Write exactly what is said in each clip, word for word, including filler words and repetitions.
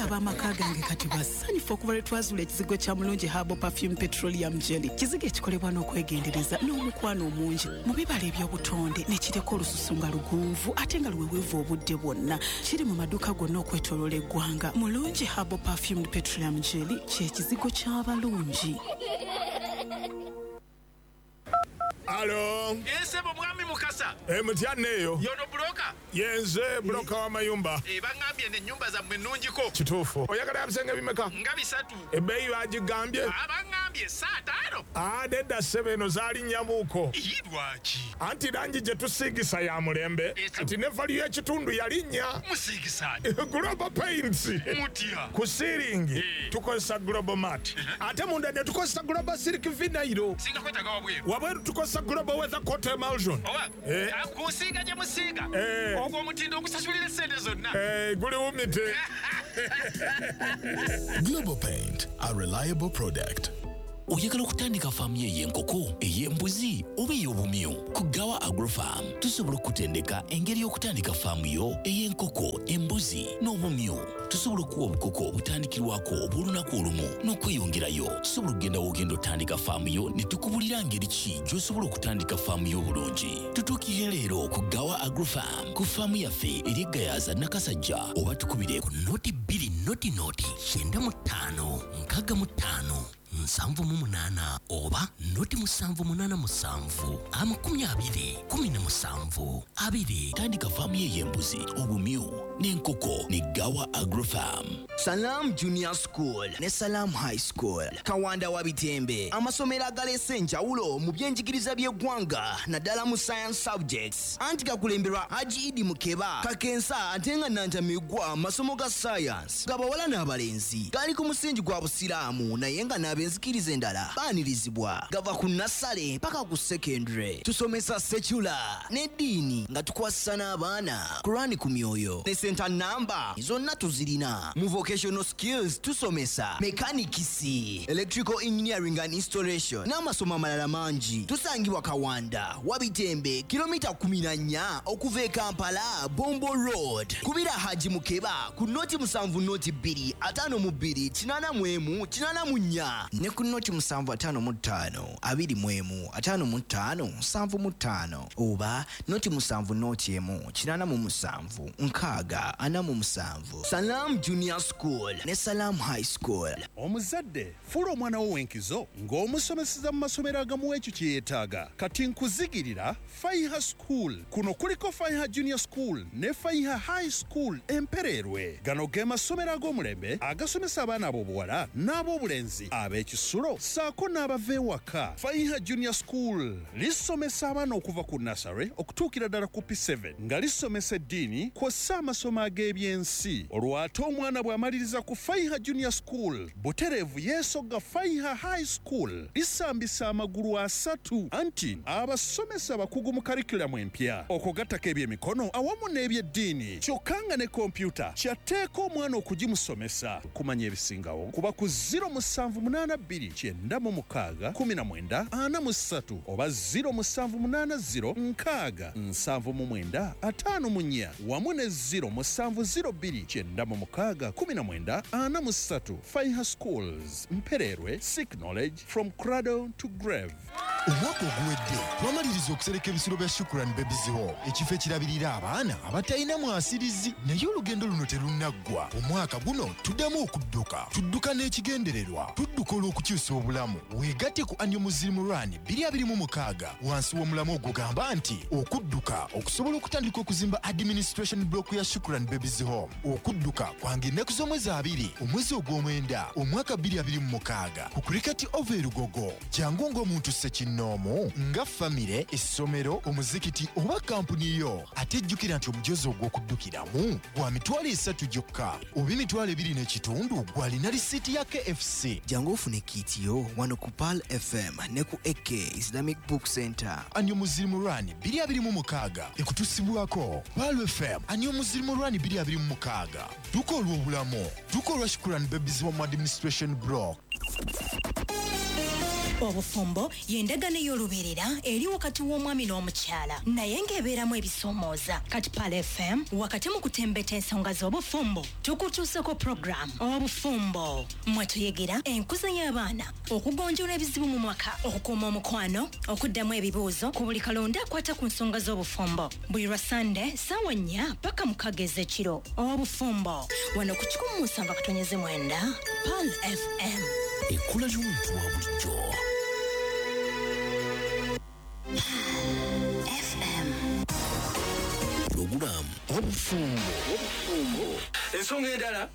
Wabula ab'amaka gange kati basanyufu okuva lwe twazuula ekizigo kya Mulungi Herbal Perfume Petroleum Jelly, kizigo ekikolebwa n'okwegendereza n'omukwano omungi mu bibala eby'obutonde, ne kireka olususu nga lugonvu ate nga luweweevu obudde bwonna. Kiri mu maduuka gonna okwetooloola eggwanga. Mulungi Herbal Perfumed Petroleum Jelly kye kizigo ky'abalungi. Alo. Ssebo mwami Mukasa. E, mutya neeyo? Yono broker? Yenze broker w'amayumba. E, baŋŋambye n'ennyumba zammwe nnungiko. Kituufu. Oyagala ya bisenge bimeka? Nga bisatu. Ebbeeyi bagigambye? Baŋŋambye saataano. Ah, nedda ssebo, eno zaali nnyamuuko. Ii, lwaki? Anti langi gye tusiigisa ya mulembe. Kati ne value y'ekitundu yalinnya. Musiigisa? Global Paints. Mutya? Ku ceiling tukozesa Global Mat. Ate munda ne tukozesa Global Silk Vinyl. Singa kwetaaga wabweru? Wabweru tukozesa Global Weather Coat Emulsion. Oba Eh. kusiiga gye musiiga, Eh. ogwo omutindo ogusasulira essente zonna. Eh, guli wumite. Global Paint, a reliable product. Oyagala okutandika faamu yo ey'enkoko, ey'embuzi oba ey'obumyu? Ku Gawa Agrofarm tusobola okutendeka engeri y'okutandika faamu yo ey'enkoko, embuzi n'obumyu. Tusobola okuwa obukoko obutandikirwako obw'olunaku olumu n'okweyongerayo. Tusobola okugenda w'ogenda otandika faamu yo ne tukubulira ngeri ki gy'osobola okutandika faamu yo obulungi. Tutuukire leero ku Gawa Agrofarm ku faamu yaffe eri Gayaza Nakasajja, oba tukubire ku noti bbiri noti noti kyenda mu ttaano nkaaga mu ttaano nsanvu mu munaana oba noti musanvu munaana musanvu amakumi abiri kumi na musanvu abiri. Tandika faamu ye ey'embuzi, obumyu n'enkoko ne Gawa Agrofarm. Salam Junior School ne Salam High School, Kawanda wa Bitembe, amasomero agaleese enjawulo mu byenjigiriza by'eggwanga naddala mu science subjects, anti gakulemberwa Haji Idi Mukeba Kakensa, ate nga Nantamigwa masomo ga science gabawala n'abalenzi, gali ku musingi gwa Busiraamu naye nga n'abenzikiriza endala baanirizibwa. Gava ku nursery paka ku secondary. Tusomesa secular n'eddiini nga tukwasisa n'abaana Kurani ku myoyo ne center number zonna tuzirina. Mu vocational skills tusomesa mechanics, electrical engineering and installation n'amasomo amalala mangi. Tusangibwa Kawanda Wabitembe, kilomita kumi na nnya okuva e Kampala, Bombo Road. Kubira Haji Mukeba ku noti musanvu noti bbiri ataano mu bbiri kinaana mu emu kinaana mu nnya ne ku noti musanvu ataano mu ttaano abiri mu emu ataano mu ttaano nsanvu mu ttaano oba noti musanvu noti emu kinaana mu musanvu nkaaga ana mu musanvu. Salam Junior School ne Salam High School. Omuzadde, fuula omwana wo w'enkizo ng'omusomeseza mu masomero agamuwa ekyo kye yeetaaga. Kati nkuzigirira Faiha School. Kuno kuliko Faiha Junior School ne Faiha High School Empererwe. Gano ge masomero ag'omulembe agasomesa abaana ab'obuwala n'ab'obulenzi, ab'ekisulo ssaako n'abava ewaka. Faiha Junior School lisomesa abaana okuva ku nursery okutuukira ddala ku P seven, nga lisomesa eddiini kw'ossa amasomo ag'ebyensi. Olwo ate omwana bw'amaliriza ku Faiha Junior School, butereevu yeesogga Faiha High School. Lisambisa amagulu asatu, anti abasomesa abakugu mu curriculum empya, okugattako ebyemikono awamu n'ebyeddiini, kyokka nga ne kompyuta kyatteeka omwana okugimusomesa. Kumanya ebisingawo kuba ku zero musanvu munaana bbiri kyenda mu mukaaga kumi na mwenda ana mu ssatu oba zero musanvu munaana zero nkaaga nsanvu mu mwenda ataano mu nnya wamu ne zero musanvu zero bbiri kyenda mu mukaaga kumi na mwenda ana mu ssatu. Faiha Schools Mpererwe, seek knowledge from cradle to grave. Omwaka oguwedde twamaliriza okusereka ebisulo bya Shukran Babies Home, ekifo ekirabirira abaana abatalina mwasirizi, naye olugendo luno terunnaggwa. Omwaka guno tuddamu okudduka. Tudduka n'ekigendererwa, tudduka olw'okukyusa obulamu. Weegatte ku Annual Muslim Run twenty twenty-six wansi w'omulamu ogugamba nti okudduka okusobola okutandika okuzimba administration block ya Shukran Babies Home. Okudduka kwange ennaku z'omwezi abiri omwezi ogw'omwenda omwaka twenty twenty-six ku Cricket Oval e Lugogo. Jangu ng'omuntu ssekinnoomu, nga famire, essomero, omuzikiti oba kampuni yo. Ate jjukira nti omujoozi ogw'okuddukiramu gwa mitwalo esatu gyokka oba emitwalo ebiri n'ekitundu gw'alina risiiti ya K F C. Jangu ofune kit yo wano ku Pearl F M ne ku A K Islamic Book Center. Annual Muslim Run twenty twenty-six ekutusibwako Pearl F M. Annual Muslim Run twenty twenty-six, dduka olw'obulamu, dduka olwa Shukran Babies Home Administration Block. Obufumbo y'endagaano ey'olubeerera eri wakati w'omwami n'omukyala, naye ng'ebeeramu ebisoomooza. Kati Pearl F M wakati mu kutembeta ensonga z'obufumbo tukutuusako program Obufumbo mwe tuyigira enkuza y'abaana, okugonjoola ebizibu mu mwaka, okukuuma omukwano, okuddamu ebibuuzo ku buli kalonda akwata ku nsonga z'obufumbo. Buli lwa Sande ssaawa nnya paka mukaaga ez'ekiro. Obufumbo wano ku kikumi mu musanvu akatonyeze mwenda Pearl F M. Ekkula ly'omuntu wa bulijjo. F M. Pulogulaamu Obufumbo. Obufumbo. Ensonga endala,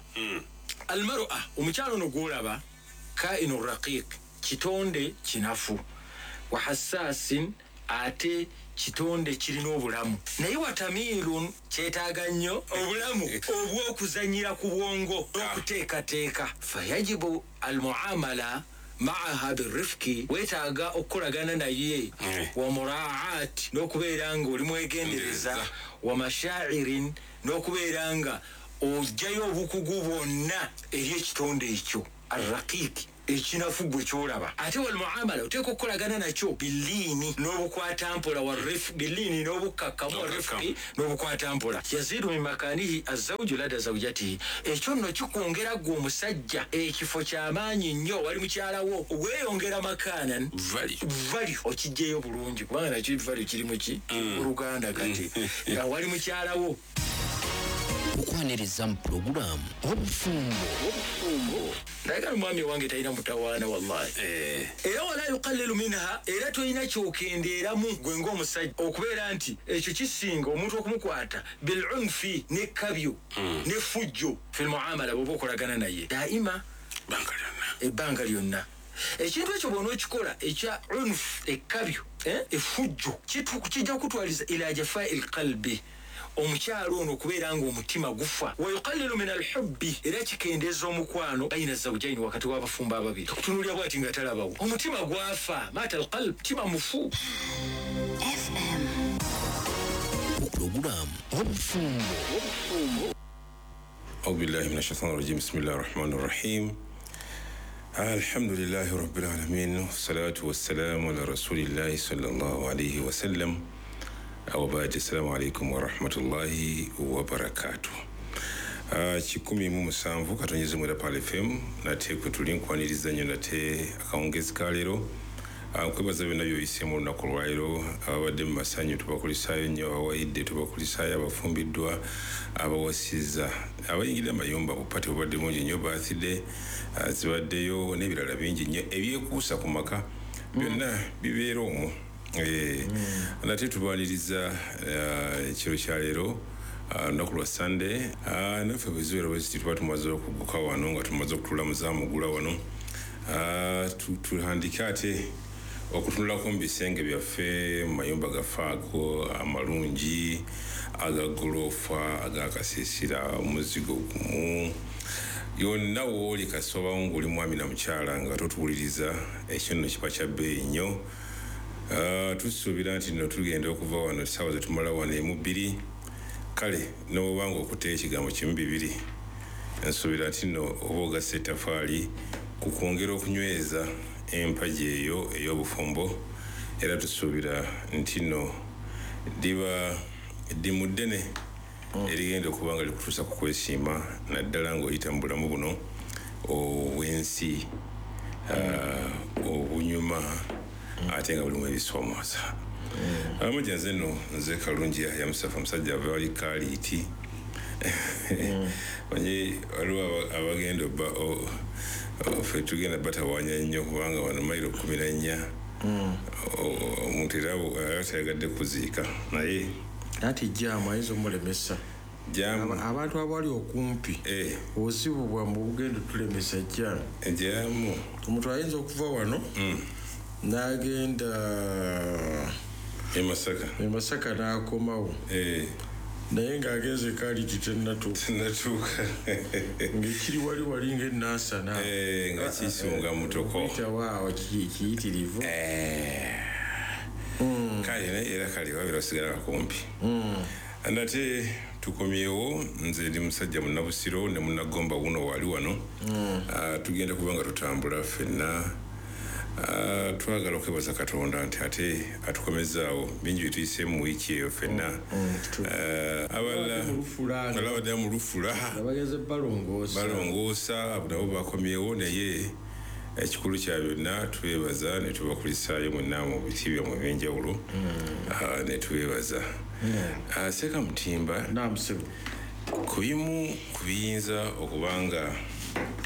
almar'a, omukyalo ono gw'olaba kainu raqiq, kitonde kinafu, wa hassaasin, ate kitonde kirina obulamu, naye watamiirun kyetaaga nnyo obulamu obw'okuzannyira ku bwongo n'okuteekateeka. Fayajibu almuamala maaha birifki, weetaaga okukolagana naye, wa muraat, n'okubeera nga oli mwegendereza, wa mashairin, n'okubeera nga ojjayo obukugu bwonna eri ekitonde ekyo arraqiiki, ekinafu gwe kyolaba. Ate walmuamala oteeka okukolagana nakyo biliini n'obukwatampola, biliini n'obukkakkamu, warifki n'obukwatampola. Yaziidu min makaanihi azawju lada zawjatihi, ekyo nno kikwongera ggwe omusajja ekifo ky'amaanyi nnyo wali mukyala wo, weeyongera makaanan value okiggyeyo bulungi, kubanga nakyo value kiri mu ki Luganda kati nga wali mukyala wo. Okwaniriza mu pulogulaamu Obufumbo. Obufumbo. Naye omwami wange talina mutawaana wallahi. Era wala yuqallilu minha, era tolina kyokendeeramu gwe ng'omusajja okubeera nti ekyo kisinga omuntu okumukwata bilunfi n'ekkabyo n'effujjo fil muamala bw'oba okolagana naye daima ebbanga lyonna. Ekintu ekyo bw'onookikola ekya unf, ekkabyo, effujjo, kijja kukutwaliza ila jafai lqalbi, omukyalo ono okubeera ng'omutima gufa. Wa yuqallilu min alhubbi, era kikendeeza omukwano baina zawjaini, wakati w'abafumbo ababiri. Okutunuulira bw'ati nga talabawo, omutima gwafa, mata alqalb, mutima mufu. F M. Pulogulaamu Obufumbo. Obufumbo. A'udhu billahi minash shaitani rajim. Bismillahir rahmanir rahim. Alhamdulillahi rabbil alamin, wassalatu wassalamu ala rasulillahi sallallahu alayhi wa sallam. Awabaadi, assalamu alaikum warahmatullahi wabarakatuh. Kikumi mu musanvu katonyeze mwera Pearl F M, nate kwe tuli nkwaniriza nnyo nate akawungezi ka leero. Nkwebaza byonna by'oyiseemu olunaku lwaleero. Ababadde mu masanyu tubakulisaayo nnyo, abawayidde tubakulisaayo, abafumbiddwa, abawasizza, abayingidde amayumba, bupate bubadde bungi nnyo, birthday zibaddeyo n'ebirala bingi nnyo ebyekuusa ku maka byonna bibeera omwo. Nate tubaniriza ekiro kya leero, olunaku lwa Sunday. Naffe bwe zibeera bwe ziti tuba tumaze okugguka wano, nga tumaze okutulamuza amugula wano, tuhandike ate okutunulako mu bisenge byaffe, mu mayumba gaffe ago amalungi, agagoloofa, agakasiisira, omuzigo gumu yonna wooli kasobawo ng'oli mwami na mukyala nga totuwuliriza, ekyo nno kiba kya bbeeyi nnyo. Tusuubira nti nno tugenda okuva wano essaawa ze tumala wano emu bbiri, kale n'oba ng'okutte ekigambo kimu bibiri, nsuubira nti nno oba ogasse ettaffaali ku kwongera okunyweza empagi eyo ey'obufumbo. Era tusuubira nti nno liba ddimu ddene erigenda okuba nga likutuusa ku kwesiima, naddala ng'oyita mu bulamu buno obw'ensi obunyuma ate nga bulimu ebisoomooza. Abamujja nze nno nze Kalungi Yahya Mustafa, musajja ava wali Kaaliiti. Manyi waliwo abagenda ffe tugenda batawaanya nnyo kubanga wano mayiro kkumi na nnya omuntu era tayagadde kuziika, naye anti jaamu ayinza omulemesa. Abantu abali okumpi obuzibu bwammwe bugenda otulemesa jaamu. Jaamu omuntu ayinza okuva wano n'agenda e Masaka, e Masaka n'akomawo, naye ng'agenze Kaaliiti tennatuuka, tennatuuka ng'ekiri wali wali ng'ennansana nga kisunga mutoko kitawaawo kiyitirivu. Kale naye era kale wabeera osigala kakumpi. Nate tukomyewo, nze ndi musajja munnabusiro ne munnagomba wuno wali wano. Tugenda kuba nga tutambula ffenna Uh, twagala okwebaza Katonda nti ate atukomezaawo bingi bye tuyiseemu mu wiiki eyo ffenna. Abalala abadde mu lufula abagenze balongoosa balongoosa abo nabo bakomyewo, naye ekikulu kya byonna twebaza ne tubakulisaayo mwenna mu biti byammwe ebyenjawulo ne twebaza. Seeka Mutimba, ku bimu ku biyinza okuba nga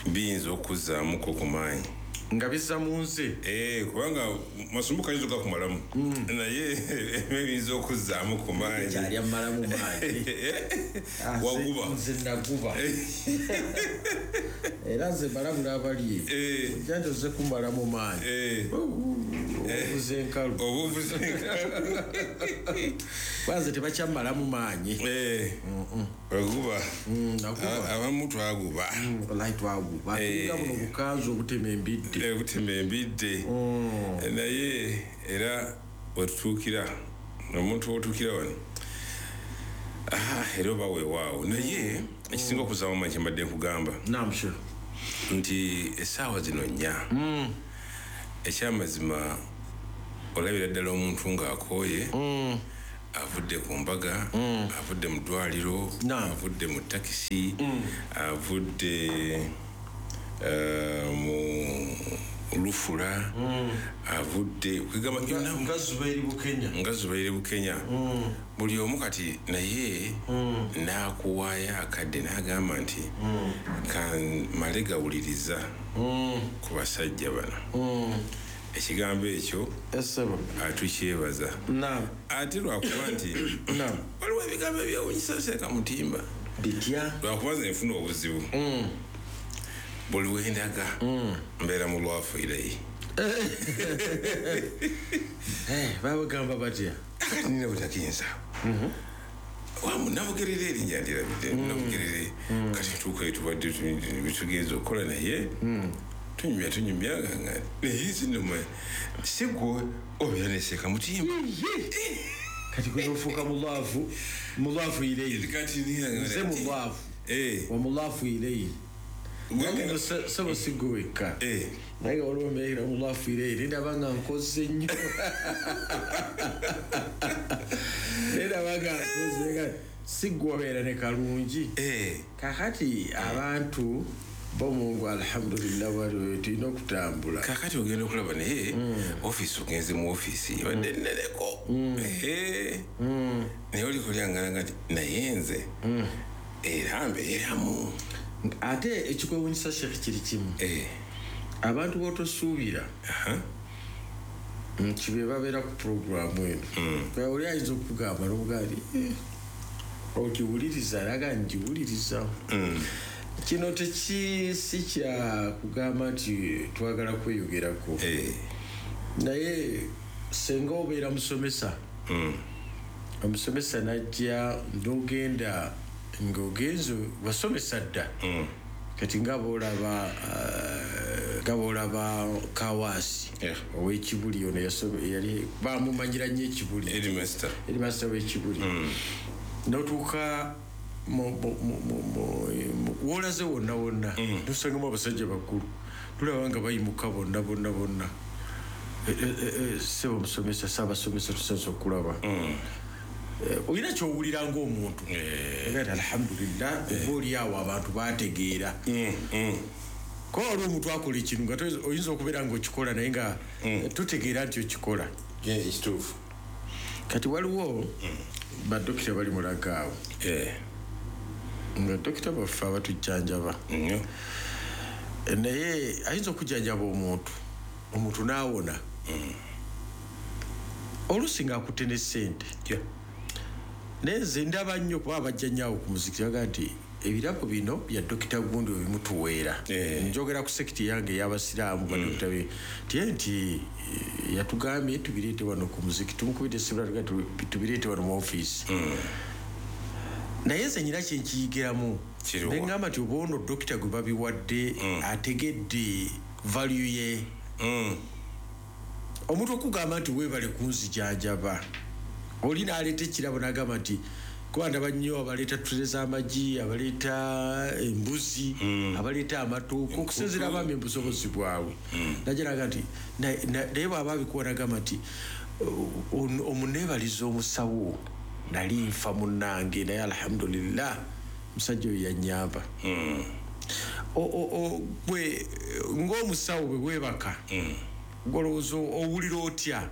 biyinza okuzzaamuko ku maanyi nga bizza mu nze, eh, kubanga masumbuko ayinza ogakumalamu, naye ebiyinza okuzzaamu ku maanyi kyali ammalamu maanyi waguba nze naguba era nze mbalabula abali ojja nti ozze kumalamu maanyi obuvuze enkalu obuvuze enkalu kwanze tebakyamalamu maanyi waguba abamu twaguba wallahi twaguba tulinga buno bukanzu obutema embidde obutema embidde naye era wetutuukira omuntu wotuukira wano era oba weewaawo. Naye ekisinga okuzaamu amaanyi kye mbadde nkugamba nti essaawa zino nnya ekyamazima olabira ddala omuntu ng'akooye, avudde ku mbaga, avudde mu ddwaliro, avudde mu takisi, avudde mu lufula, avudde nga Zubairi Bukenya nga Zubairi Bukenya buli omu kati naye n'akuwaayo akadde n'agamba nti kamale gawuliriza ku basajja bano. Ekigambo ekyo atukyebaza ate lwakuba nti waliwo ebigambo ebyewuunyisa Seeka Mutimba bitya lwakuba nze nfuna obuzibu buli wendaga mbeera mu lwafu irayi. Babagamba batya akati nina butakinza wamu nabugerere erinnya ndirabidde nabugerere kati tuukayo tubadde bitugenza okukola naye tunyumya tunyumya nga naye zinoma si gwe obeera ne Seeka Mutimba kati gwe ofuuka mulaafu mulaafu ireyi kati nze mulaafu wa mulaafu ireyi naye sebo si gwe wekka naye waliwo mbeera mulaafu ireyi nendaba nga nkoze nnyo nendaba nga nkoze si gwe obeera ne kalungi. Kakati abantu bomungu alhamdulillah waliwo tulina okutambula. Kakati ogenda okulaba naye ofiisi ogenze mu ofiisi ebadde nneneko naye olikolyangana nti naye nze era mbeeramu. Ate ekikwewuunyisa Sheikh kiri kimu, abantu b'otosuubira nti be babeera ku puroguramu eno oli ayinza okugamba n'obugaali okiwuliriza alaga ngiwuliriza. Kino teki si kya kugamba nti twagala kweyogerako, naye senga obeera musomesa, omusomesa najja n'ogenda ng'ogenze wasomesa dda kati nga bw'olaba nga bw'olaba Kawaasi ow'Ekibuli ono yali bamumanyira nnyo Ekibuli headmaster w'Ekibuli n'otuuka wolaze wonna wonna nosangamu abasajja bakulu tulaba nga bayimuka bonna bonna bonna. Sebo musomesa saabasomesa tusanze okulaba olina kyowulira ng'omuntu era alhamdulillah oba oli awo abantu bategeera. Kuba waliwo omuntu akola ekintu nga oyinza okubeera ng'okikola naye nga totegeera nti okikola ekituufu. Kati waliwo badokita bali mulaga awo nga dokita baffe abatujjanjaba naye ayinza okujjanjaba omuntu omuntu n'awona oluusi ng'akutte ne ssente. Naye nze ndaba nnyo kuba abajja nnyo awo ku muzikiti baga nti ebirabo bino bya dokita gundi ebimutuweera. Njogera ku sekiti yange ey'abasiraamu badokita be tiye nti yatugambye tubireete wano ku muzikiti tumukubidde essimu tubireete wano mu ofiisi. Naye nze nyina kye nkiyigiramu ne ŋŋamba nti oba ono dokita gwe babiwadde ategedde value ye. Omuntu okugamba nti weebale kunzijanjaba oli n'aleeta ekirabo n'agamba nti Kuba ndaba nnyo abaleeta ttule z'amagi, abaleeta embuzi, abaleeta amatooke, okusinziira abaami obusobozi bwabwe. Najja n'agamba nti naye bw'aba abikuwa n'agamba nti omuneebaliza omusawo nali nfa munnange, naye alhamdulillah musajja oyo yannyamba. Gwe ng'omusawo bwe weebaka golowooza owulira otya?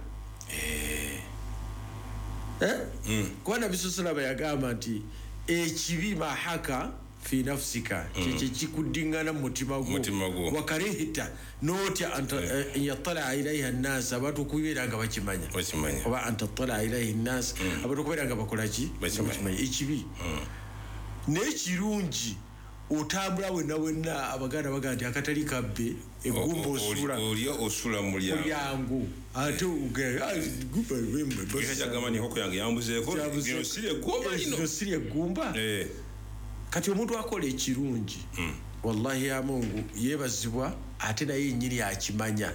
Kuba Nabbi sallallahu yagamba nti ekibi mahaka fi nafsika, kyekyo kikuddingana mu mutima gwo, wakarihita n'otya an yattala ilaiha nnaas, abantu okubeera nga bakimanya, oba an tattala ilaihi nnaas, abantu okubeera nga bakola ki? Bakimanya ekibi. Naye kirungi otambula wenna wenna, Abaganda bagamba nti akatali kabbe eggumba osula olya osula mu mulyango, ate gamba enkoko yange yambuzeeko, lino si eggumba. Kati omuntu akola ekirungi wallahi ya Mungu yeebazibwa, ate naye yennyini akimanya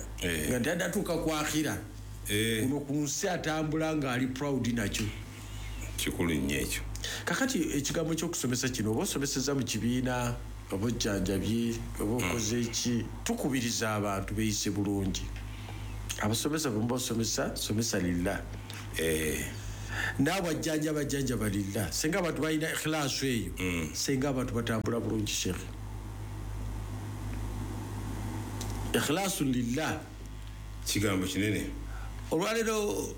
nga nti adatuuka ku akhira kuno ku nsi atambula ng'ali proud nakyo. Kikulu nnyo ekyo. Kakati ekigambo ky'okusomesa kino, oba osomeseza mu kibiina, oba ojjanjabye, oba okoze ki, tukubiriza abantu beeyise bulungi. Abasomesa bwe muba osomesa, somesa lillah. Naawe ajjanjaba ajjanjaba lillah. Singa abantu balina ikhlaasu eyo, singa abantu batambula bulungi. Sheikh, ikhlaasu lillah kigambo kinene. Olwaleero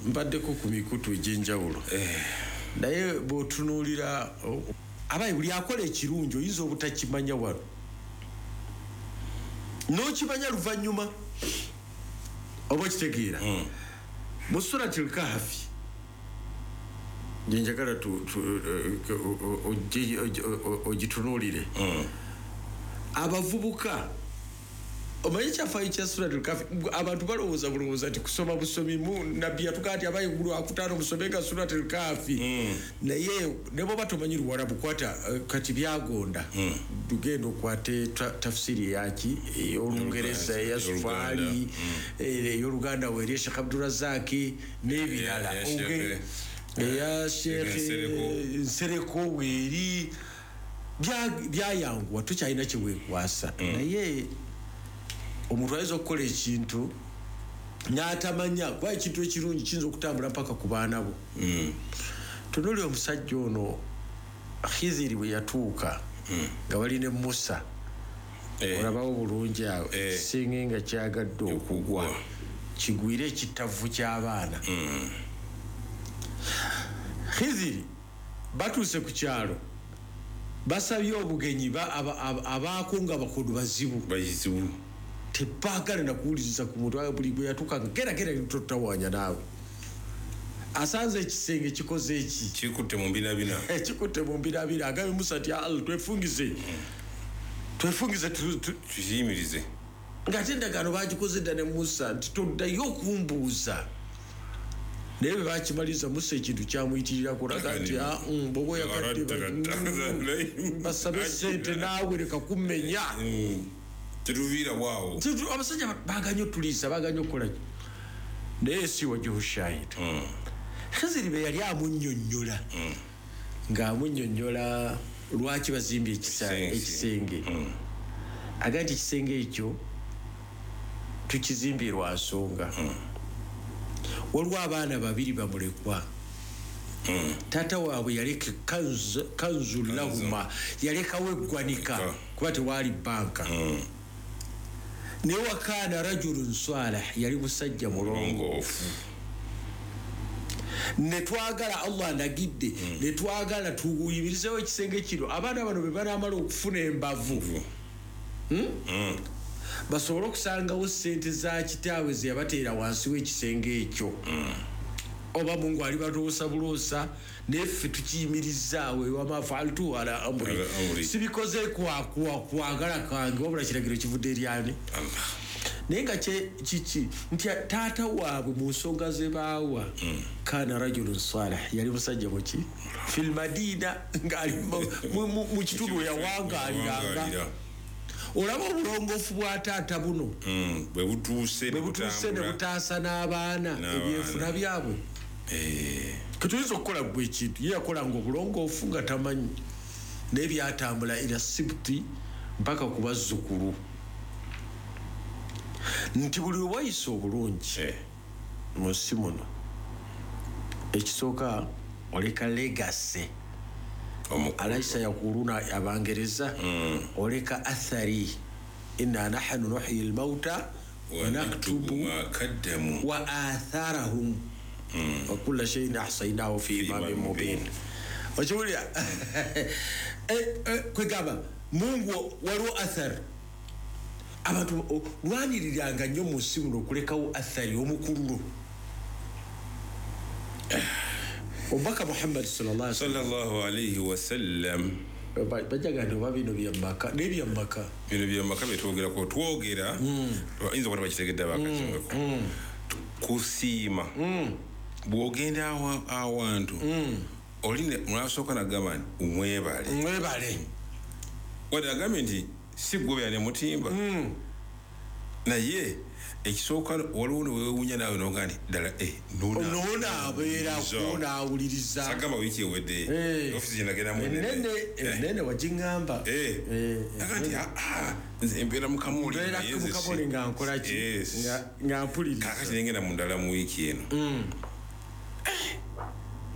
mbaddeko ku mikutu egy'enjawulo, naye bw'otunuulira abayi buli akola ekirungi oyinza obutakimanya wano, n'okimanya luvannyuma, oba okitegeera. Mu Surati Al-Kahfi gye njagala ogitunuulire, abavubuka omanyi ekyafaayo kya Surati Al-Kahfi, abantu balowooza bulowooza nti kusoma busomi. Nabbi yatugamba nti abayi lwakutaano musomenga Surati Al-Kahfi, naye ne bw'oba tomanyi Luwarabu kwata kati byagonda, tugenda okwate tafsiri eyaki ey'Olungereza, eya Sufaali, ey'Oluganda weeri Sheikh Abdurazaki n'ebirala, eya Sheikh Nsereko weeri, byayanguwa, tukyalina kye weekwasa. Naye omuntu ayinza okukola ekintu n'atamanya, kuba ekintu ekirungi kiyinza okutambula mpaka ku baana bo. Tunuulira omusajja ono Khiziri bwe yatuuka nga bali ne Musa, olabawo bulungi awo ekisenge nga kyagadde okugwa kigwire ekitavu ky'abaana. Khiziri batuuse ku kyalo, basabye obugenyi, abaako nga bakodo bazibu bazibu, tebaagala na kuwuliriza ku muntu. Buli bwe yatuuka gera gera totawaanya naawe, asanze ekisenge kikoze eki, kikutte mu mbinabina, kikutte mu mbinabina. Agambye Musa nti Allah twefungize, twefungize, tukiyimirize. Ng'ate endagaano bagikoze dda ne Musa nti toddayo okumbuuza. Naye bwe bakimaliriza Musa ekintu kyamuyitirirako, olaga nti bw'oba oyagadde basabe ssente naawe leka kummenya, tetuviira bwawo. Abasajja baaganye otuliisa, baaganye okukola, naye si wajuhu shahid. Khiziri bwe yali amunnyonnyola, ng'amunnyonnyola lwaki bazimbye ekisenge, agamba nti ekisenge ekyo tukizimbye lwa nsonga. Waliwo abaana babiri bamulekwa, taata waabwe yaleka kanzu lahuma, yalekawo eggwanika kuba tewaali bbanka. Naye wakaana rajulun salih, yali musajja mulongoofu. Ne twagala Allah andagidde, ne twagala tuyimirizeewo ekisenge kino, abaana bano bwe banaamala okufuna embavu basobole okusangawo ssente za kitaabwe ze yabateera wansi w'ekisenge ekyo. Oba Mungu alibatuusa buloosa, naye ffe tukiyimirizaawo ewama faaltu ala amri, sibikoze kwagala kwange, wabula kiragiro kivudde eri ani? Naye nga kiki nti taata waabwe mu nsonga ze baawa, kaana rajulun salih, yali musajja muki fil madina, ng'ali mu kitundu we yawangaaliranga. Olaba obulongoofu bwa taata buno bwe butuuse ne butaasa n'abaana ebyenfuna byabwe. Ketuyinza okukola gwe ekintu ye yakolanga obulongoofu nga tamanyi naye byatambula era sibuti mpaka ku bazzukulu nti buli wayisa obulungi mu nsi muno ekisooka oleka legacy alaisa yakuluna abangereza oleka athari inna nahnu nuhyi almauta wa naktubu ma kaddamu wa atharahum wa kulla shay'in ahsaynahu fi imamin mubin. Okiwulira kwegamba Mungu waliwo athari abantu lwaniriranga nnyo mu nsi muno okulekawo athari omukululo. Omubaka Muhammad sallallahu alayhi wasallam bajaga nti oba bino byamaka n'ebyamaka bino byamaka byetwogerako twogera oyinza okuba bakitegedde abakakimweko kusiima bw'ogenda awantu oli mwasooka nagamba nti mwebale mwebale wadde agambye nti si gwe ne mutimba naye ekisooka waliwo newewuunya naawe noga nti ddala noona abeerako naawuliriza sagamba wiiki ewedde ofiisi gye nagendamu enene wagiŋŋamba aga nti nze mbeera mu kamuli mukabuli nga nkola ki nga mpuliriza kaakati nengenda mu ndala mu wiiki eno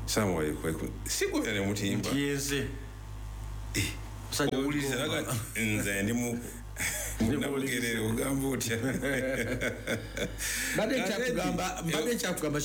salaamu alaikum si gwe ne mutimba nti owuliriza naga nze ndi mu nabugerere ogamba otya mbadde nkyakugamba mbadde nkyakugamba